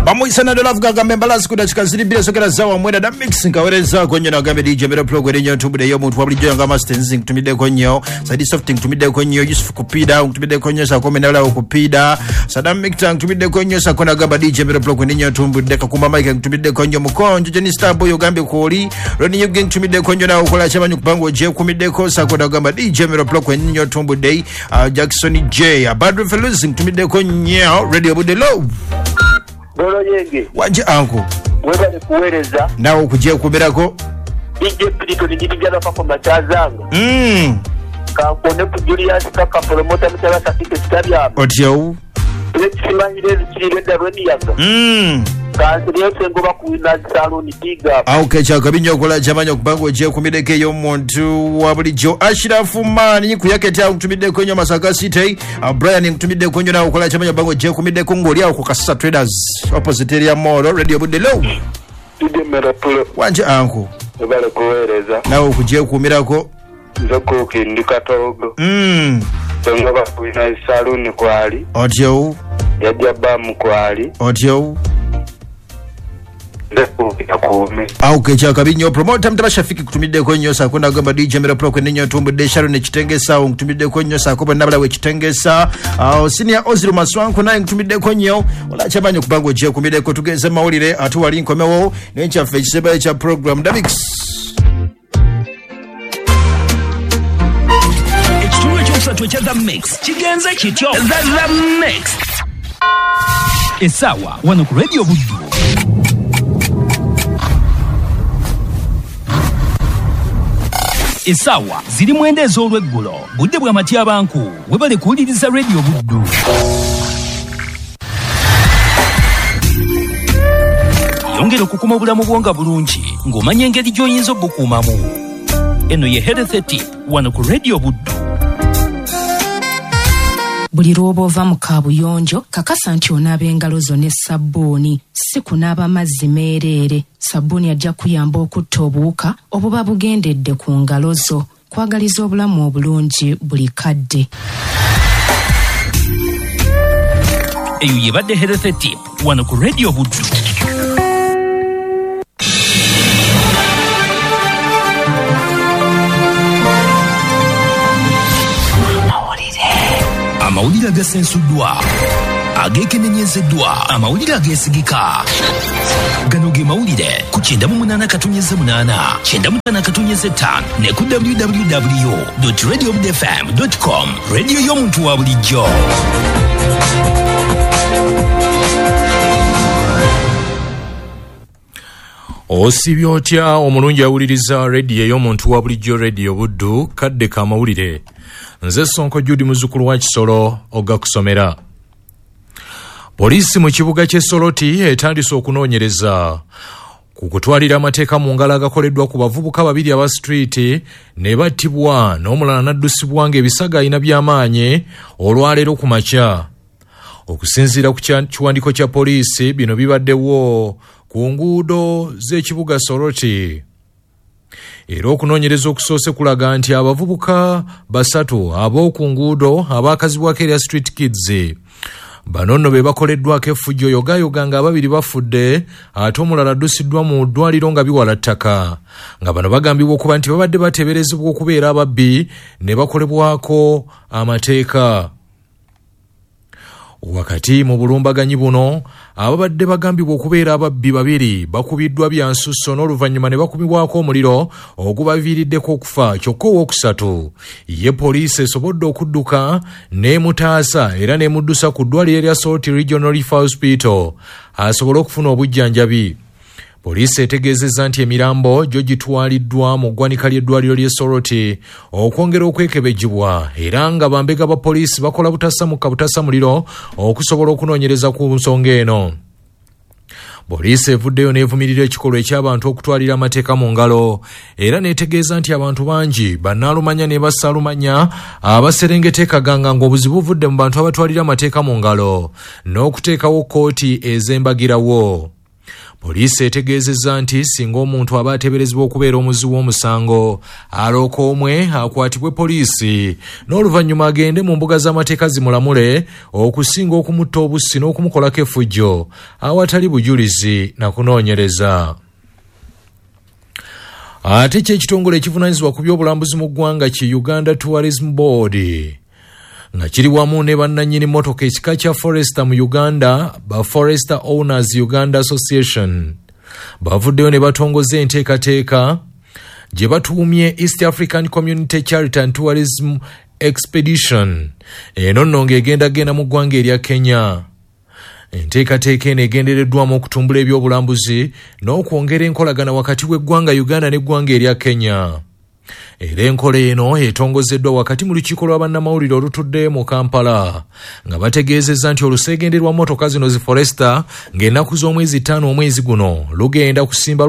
Bamuyisa na Love gagambe mbalasi ku dakika ziri bbiri esokera zawa mwenda da mix nkawerezaako nnyo nagambe DJ Mero Pro erinnya ntumbudde ey'omuntu wabulijjo nga Master Nzi nkutumiddeko nnyo, Saidi Soft nkutumiddeko nnyo, Yusuf Kupida nkutumiddeko nnyo, Sakome Nalawo Kupida, Sadam Mikta nkutumiddeko nnyo, Sako nagamba DJ Mero Pro erinnya ntumbudde, Kakumba Mike nkutumiddeko nnyo, Mukonjo Jenny Starboy ogambye kwoli, Ronnie Yuge nkutumiddeko nnyo nawe okola kyamanyi kubanga ogyekumiddeko, Sako nagamba DJ Mero Pro erinnya ntumbudde, Jackson J, Badru Feluzi nkutumiddeko nnyo, Radio Budde Love. Golo yenge. Wanje anko. Webale kuwereza. Nawe okugyekumirako. DJ Pirito nijibijana pako machazanga. Kankone ku Julius Kaka promoter mutala sakite kitabya. Otyo. Lekimanyire zikirire darweni yaga. Kansiriyo sengoba ku Winners Salon Tiga. Okay, kyakabinyo okola kyamanya okubanga ogyekumireko ey'omuntu wa bulijjo. Ashirafu Mani kuyaketa nkutumiddeko nnyo Masaka City. Brian nkutumiddeko nnyo nawe okola kyamanya okubanga ogyekumiddeko ng'oli awo ku Kasasa Traders opposite area Mall Radio Budde Low. Wanje anko. Webale kuweereza. Nawe okugyekumirako. Nze kuukindi Katogo. Sengoba ku Winners Salon kwali. Otyo. Yajja Bamu kwali. Otyo. Auke kyakabinyo promoter mtaba Shafiki kutumiddeko nnyo sako nagamba DJ Mero Pro nnyo ntumbudde Sharon ekitengesa nkutumiddeko nnyo sako bonna balawe ekitengesa senior Ozil Maswanko naye nkutumiddeko nnyo ola kyamanyi okubanga ogyekumiddeko tugeze mawulire ate wali nkomewo n'enkyaffe ekiseba ekya program Davix. Ekitundu ekyokusatu ekya The Mix kigenze kityo. The Mix essaawa wano ku Radio Buddu. Essaawa ziri 9 ez'olweggulo, budde bwa matyabanku. Webale kuwuliriza Radio Buddu. Yongera okukuma obulamu bwo nga bulungi ng'omanya engeri gy'oyinza obukuumamu. Eno ye Health Tip wano ku Radio Buddu. Buli lw'oba ova mu kaabuyonjo kakasa nti onaaba engalo zo ne sabbuuni, si kunaaba mazzi meereere. Sabbuuni ajja kuyamba okutta obuwuka obuba bugendedde ku ngalo zo. Kwagaliza obulamu obulungi buli kadde. Eyo yebadde Health Tip wano ku Radio Buddu. Amawulire agasensuddwa, ageekenenyezeddwa, amawulire ageesigika. Gano ge mawulire ku 98.8, 95.5 ne ku www.radiobudfm.com. Radio y'omuntu wa bulijjo. Osibye otya omulungi awuliriza radio y'omuntu wa bulijjo, Radio Buddu, kadde ka mawulire. Nze Sonko Judy muzzukulu wa Kisolo ogakusomera. Poliisi mu kibuga ky'e Soroti etandise okunoonyereza ku kutwalira amateeka mu ngalo agakoleddwa ku bavubuka babiri aba street ne battibwa n'omulala n'addusibwa ng'ebisago alina by'amaanyi olwaleero ku makya. Okusinziira ku kiwandiiko kya poliisi, bino bibaddewo ku nguudo z'ekibuga Soroti. Era okunoonyereza okusoose kulaga nti abavubuka basatu ab'oku nguudo abaakazibwako erya Street Kids bano nno be bakoleddwako effujjo yogayoga nga ababiri bafudde ate omulala addusiddwa mu ddwaliro nga biwala ttaka, nga bano bagambibwa okuba nti babadde bateeberezebwa okubeera ababbi ne bakolebwako amateeka. Wakati mu bulumbaganyi buno, ababadde bagambibwa okubeera ababbi babiri bakubiddwa bya nsusso n'oluvannyuma ne bakubibwako omuliro ogubaviiriddeko okufa, kyokka owookusatu ye poliisi esobodde okudduka n'emutaasa era n'emuddusa ku ddwaliro erya Soroti Regional Referral Hospital asobole okufuna obujjanjabi. Poliisi etegeezezza nti emirambo gyo gitwaliddwa mu ggwanika ly'eddwaliro ly'e Soroti okwongera okwekebejjibwa, era nga bambega ba poliisi bakola butasa butasa muliro okusobola okunoonyereza ku nsonga eno. Poliisi evuddeyo n'evumirira ekikolwa eky'abantu okutwalira amateeka mu ngalo era n'etegeeza nti abantu bangi bannaalumanya ne bassaalumanya abaserengeta ekaganga ng'obuzibu buvudde mu bantu abatwalira amateeka mu ngalo n'okuteekawo kkooti ez'embagirawo. Poliisi etegeezezza nti singa omuntu aba ateeberezebwa okubeera omuzzi w'omusango alooka omwe akwatibwe poliisi n'oluvannyuma agende mu mbuga z'amateeka zimulamule okusinga okumutta obussi n'okumukolako effujjo awatali bujulizi na kunoonyereza. Ate kye ekitongole ekivunaanyizibwa ku by'obulambuzi mu ggwanga ki Uganda Tourism Board nga kiri wamu ne bannannyini mmotoka ekika kya Forester mu Uganda, ba Forester Owners Uganda Association, bavuddeyo ne batongoza enteekateeka gye batuumye East African Community Charity and Tourism Expedition. Eno nno ng'egendagenda mu ggwanga erya Kenya. Enteekateeka eno egendereddwamu okutumbula ebyobulambuzi n'okwongera enkolagana wakati w'eggwanga Uganda n'eggwanga erya Kenya. Era enkola eno etongozeddwa wakati mu lukiiko lwa bannamawulire olutudde mu Kampala nga bategeezezza nti oluseegende lwa mmotoka zino zi Forester ng'ennaku z'omwezi 5 omwezi guno lugenda kusimba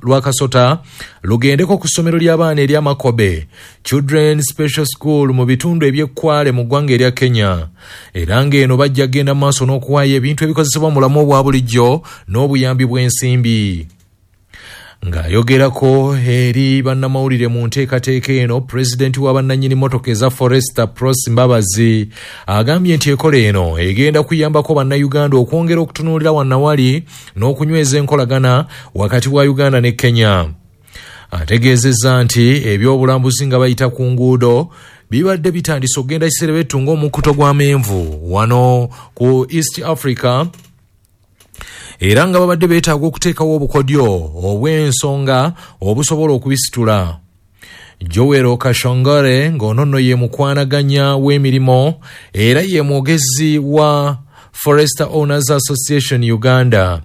lwakasota lugendeko ku ssomero ly'abaana erya Makobe Children's Special School mu bitundu eby'Ekkwale mu ggwanga erya Kenya. Era ng'eno bajja kugenda mu maaso n'okuwaayo ebintu ebikozesebwa mu bulamu obwa bulijjo n'obuyambi bw'ensimbi. Ng'ayogerako eri bannamawulire mu nteekateeka eno, pulezidenti wa bannannyini mmotoka eza Forester Pros Mbabazi agambye nti enkola eno egenda kuyambako bannayuganda okwongera okutunuulira wannawali n'okunyweza enkolagana wakati wa Uganda ne Kenya. Ategeezezza nti ebyobulambuzi nga bayita ku nguudo bibadde bitandise okugenda kiserebetu ng'omukuto gw'amenvu wano ku East Africa, era nga babadde beetaaga okuteekawo obukodyo obw'ensonga obusobola okubisitula. Joel Kashongore ng'ono nno ye mukwanaganya w'emirimu era ye mwogezi wa Forester Owners Association Uganda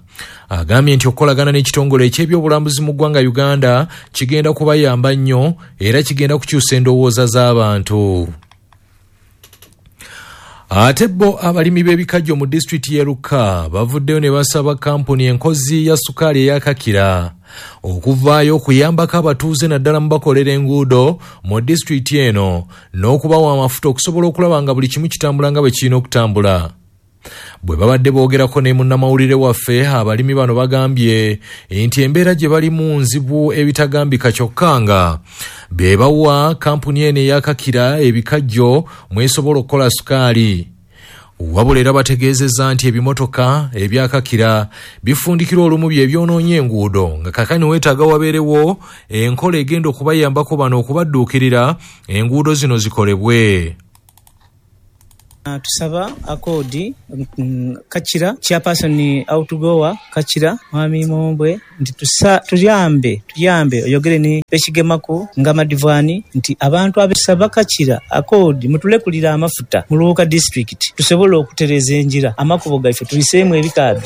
agambye nti okukolagana n'ekitongole eky'ebyobulambuzi mu ggwanga Uganda kigenda kubayamba nnyo era kigenda kukyusa endowooza z'abantu. Ate bo abalimi b'ebikajjo mu disitulikiti y'e Luka bavuddeyo ne basaba kampuni enkozi ya sukaali eya Kakira okuvaayo okuyambako abatuuze naddala mu bakolera enguudo mu disitulikiti eno n'okubawa amafuta okusobola okulaba nga buli kimu kitambula nga bwe kirina okutambula. Bwe babadde boogerako ne munnamawulire waffe, abalimi bano bagambye nti embeera gye balimu nzibu ebitagambika kyokka nga be bawa kampuni eno eya Kakira ebikajjo mwesobola okukola sukaali. Wabula era bategeezezza nti ebimotoka ebya Kakira bifundikira olumu bye byonoonye enguudo nga kaakano weetaaga wabeerewo enkola egenda okubayambako bano okubadduukirira enguudo zino zikolebwe. Tusaba akodi Kakira chairperson outgoer Kakira mwami Mombwe nti tuyambe oyogere ni bekigemaku nga madivani nti abantu abesaba Kakira akodi mutulekulira amafuta mu Luuka district tusobola okutereza enjira amakubo gaife tuliseemu ebikaado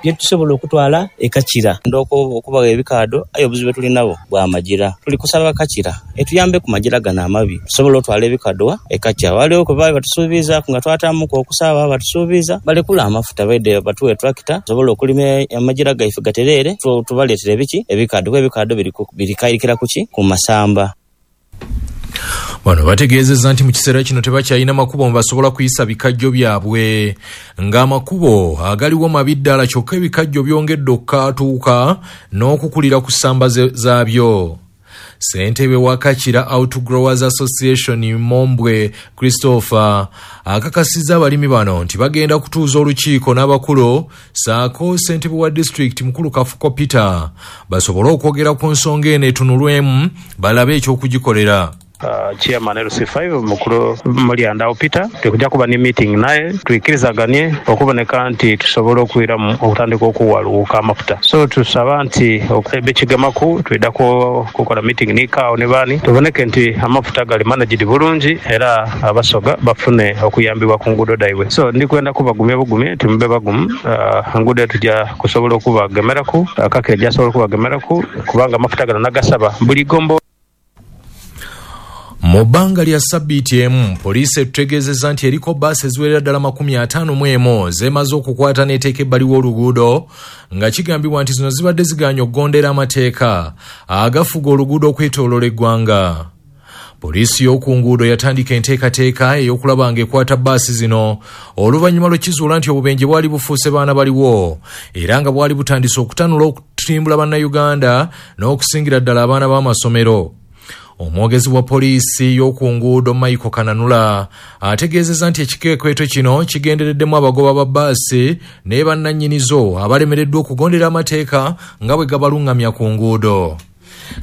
bye tusobola okutwala e Kakira. Ndoko okubaga ebikaado ayo obuzibu tuli nabo bwa majira tuli kusaba Kakira etuyambe ku majira gano amabi tusobola otwala ebikaado e Kakira. Waliwo kwe baali batusuubiza nga twatamuka okusaba batusuubiza balekula amafuta baide batuwe tractor tusobola okulima amajira gaife gatereere tubaleetere ebiki ebikaado kuba ebikaado birikayirikira kuki ku masamba. Bano bategeezezza nti mu kiseera kino tebakyalina makubo mwe basobola kuyisa bikajjo byabwe ng'amakubo agaliwo mabi ddala kyokka ebikajjo byongedde okukatuuka n'okukulira ku ssamba zaabyo. Ssentebe wa Kakira Outgrowers Association Mombwe Christopher akakasizza abalimi bano nti bagenda kutuuza olukiiko n'abakulu ssaako ssentebe wa disitulikiti mukulu Kafuko Peter basobole okwogera ku nsonga eno etunulwemu balabe ekyokugikolera. Chairman LC5 mukulu Mulyandao Peter tukujja kuba ni meeting naye tuikirizaganye okuboneka nti tusobola okwiramu okutandika okuwaluuka amafuta. So tusaba nti bekigemaku twidako kukola meeting nikaawo ne baani tuboneke nti amafuta gali managed bulungi era abasoga bafune okuyambibwa ku nguudo daibwe. So ndikwenda kubagumya bugumye nti mube bagumu, enguudo tujja kusobola okubagemeraku, Kakira ejja okubagemeraku kubanga amafuta gano nagasaba buli gombo. Mu bbanga lya sabbiiti emu poliisi etutegeezezza nti eriko bbaasi eziwerera ddala 51 zeemaze okukwata n'eteeka ebbali w'oluguudo nga kigambibwa nti zino zibadde zigaanye okugondera amateeka agafuga oluguudo okwetooloola eggwanga. Poliisi y'oku nguudo yatandika enteekateeka ey'okulaba ng'ekwata bbaasi zino oluvannyuma lw'ekizuula nti obubenje bwali bufuuse baana baliwo era nga bwali butandise okutanula okutimbula bannayuganda n'okusingira ddala abaana b'amasomero. Omwogezi wa poliisi y'oku nguudo Michael Kananula ategeezezza nti ekikwekweto kino kigendereddemu abagoba ba bbaasi ne bannannyinizo abalemereddwa okugondera amateeka nga bwe gabaluŋŋamya ku nguudo.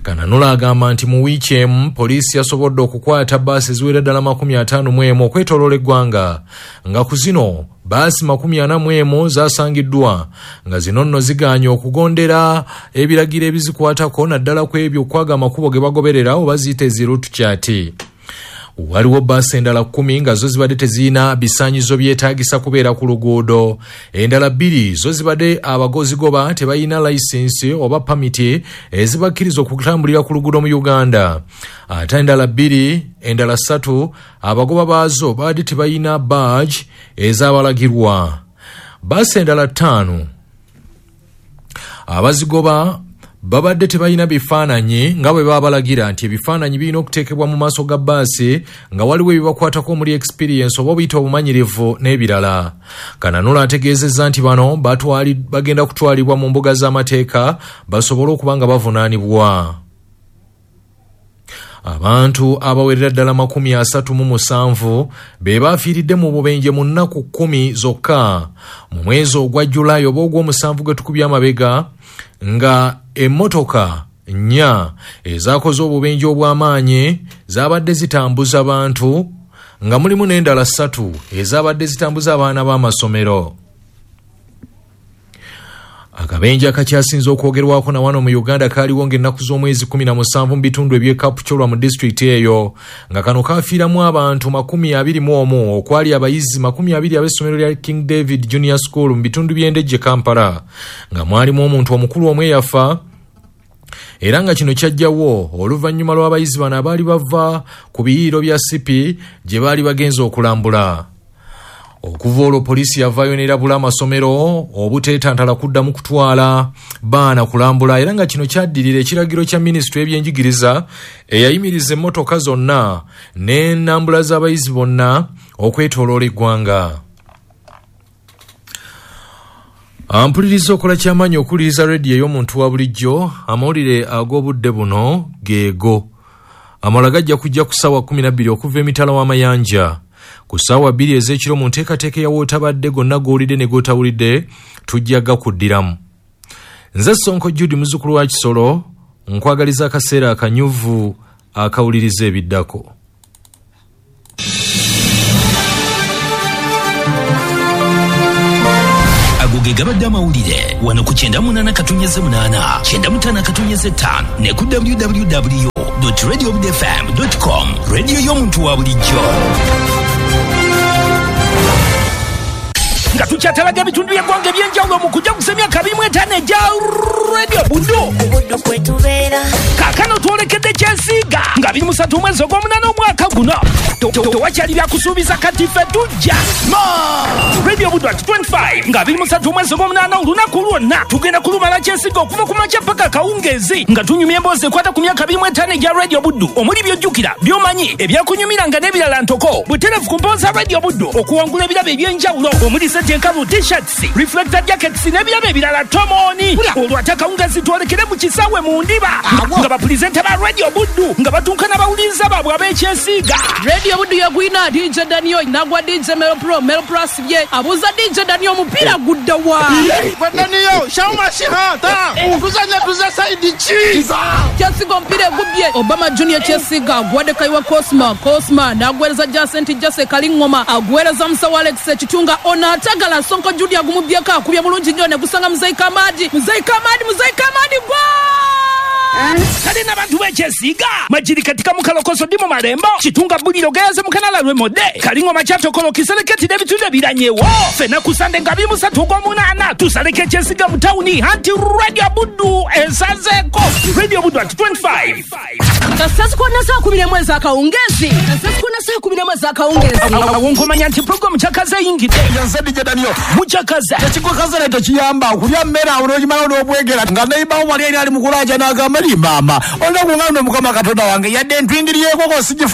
Kananula agamba nti mu wiiki emu poliisi yasobodde okukwata bbaasi eziwera ddala 51 okwetooloola eggwanga, nga ku zino bbaasi 41 zasangiddwa nga zino nno zigaanye okugondera ebiragiro ebizikwatako naddala ku ebyo okwaga amakubo ge bagoberera oba ziyite zi route chart. Waliwo bbaasi endala 10 nga zo zibadde tezirina bisaanyizo byetaagisa kubeera ku luguudo. Endala 2 zo zibadde abagozigoba tebalina layisinsi oba pamiti ezibakkiriza okutambulira ku luguudo mu Uganda. Ate endala 2, endala 3 abagoba baazo babadde tebalina badge ezabalagirwa. Bbaasi endala 5 abazigoba babadde tebalina bifaananyi nga bwe babalagira nti ebifaananyi birina okuteekebwa mu maaso ga bbaasi nga waliwo ebibakwatako omuli experience oba obuyita obumanyirivu n'ebirala. Kananula ategeezezza nti bano bagenda kutwalibwa mu mbuga z'amateeka basobole okuba nga bavunaanibwa. Abantu abawerera ddala 37 be bafiiridde mu bubenje mu nnaku 10 zokka mu mwezi ogwa Julayi oba ogw'omusanvu gwe tukubye amabega, nga emmotoka 4 ezakoze obubenje obw'amaanyi zaabadde zitambuza bantu, nga mulimu n'endala 3 ezabadde zitambuza abaana b'amasomero. Akabenje akakyasinze okwogerwako na wano mu Uganda kaaliwo ng'ennaku z'omwezi 17 mu bitundu eby'e Kapchorwa mu disitulikiti eyo, nga kano kafiiramu abantu 21 okwali abayizi 20 ab'essomero lya King David Junior School mu bitundu by'Endejje Kampala, nga mwalimu omuntu omukulu omu eyafa, era nga kino kyajjawo oluvannyuma lw'abayizi bano abaali bava ku biyiiro bya Sipi gye baali bagenze okulambula. Okuva olwo poliisi yavaayo n'erabula amasomero obuteetantala kuddamu kutwala baana kulambula, era nga kino kyaddirira ekiragiro kya minisitule y'ebyenjigiriza eyayimiriza emmotoka zonna n'ennambula z'abayizi bonna okwetooloola eggwanga. Ampuliriza okola kyamaanyi okuwuliriza rediyo ey'omuntu wa bulijjo. Amawulire ag'obudde buno geego. Amalala gajja kujja ku ssaawa 12 okuva emitala w'amayanja. Ku ssaawa 2 ez'ekiro mu nteekateeka ya wootabadde gonna g'owulidde ne g'otawulidde tujja gakuddiramu. Nze Sonko Jude muzzukulu wa Kisolo, nkwagaliza akaseera akanyuvu akawuliriza ebiddako. Ago ge gabadde amawulire wano ku 98.8, 95.5 ne ku www.radiobudfm.com. Radio y'omuntu wa bulijjo. Nga tukyatalaga ebitundu by'eggwanga eby'enjawulo mu kujaguza emyaka 25 egya Radio Buddu. Kaakano twolekedde Kyesiiga nga 23 omwezi ogw'omunaana omwaka guno. Tewakyali byakusuubiza kati ffe tujja. Radio Buddu at 25 nga 23 omwezi ogw'omunaana olunaku lwonna tugenda kulumala Kyesiiga okuva ku makya paka akawungeezi nga tunyumya emboozi ekwata ku myaka 25 egya Radio Buddu omuli by'ojjukira, by'omanyi, ebyakunyumiranga n'ebirala ntoko. Butereevu ku mboozi za Radio Buddu okuwangula ebirabo eby'enjawulo omuli enkalu, t-shirts, reflector jackets n'ebirabo ebirala tomoni. Olwo ate akawungeezi twolekere mu kisaawe mu ndiba nga bapulizenta ba Radio Buddu nga batuuka n'abawuliriza baabwe ab'Ekyesiiga. Radio Buddu yagwina DJ Daniel nagwa DJ Melo Pro, Melo Pro asibye abuuza DJ Daniel omupiira gudda wa? Daniel, shauma shihata tuzanya tuza saidi chi Kyesiiga omupiira egubbye Obama Junior Kyesiiga agwadde Kaiwa Cosma, Cosma n'agwereza Jacent Jase Kalingoma agwereza Musawo Alex Ekitunga ono atagala Sonko Jude agumubyeko akubye bulungi nnyo ne gusanga Muzeyi Kamadi, Muzeyi Kamadi, Muzeyi Kamadi gwa! Kale n'abantu b'Ekyesiiga Majiri katika mukalokoso ndi mu Malembo Kitunga Buliro Gayaze Mukanala Lwemodde Kalingoma Kyatokolo Kisereketi n'ebitundu ebiranyewo. Ffenna ku Sande nga 23 ogw'omunaana tusaleko Ekyesiiga mu tawuni anti Radio Buddu esazeeko. Radio Buddu at 25. Kasasukonna saa 11 ez'akawungeezi. Kasasukonna saa 11 ez'akawungeezi. Awo nkomanya nti pulogulaamu Kyakaze eyingidde. Nze DJ Daniel. Mukyakaze. Tekikukaze tekiyamba okulya mmere awo n'okimala n'obwegera nga neibawo wali eri ali mu kulaaja n'agamba mama olina kungamba Mukama Katonda wange yadde ntwingiriyeeko sigifu.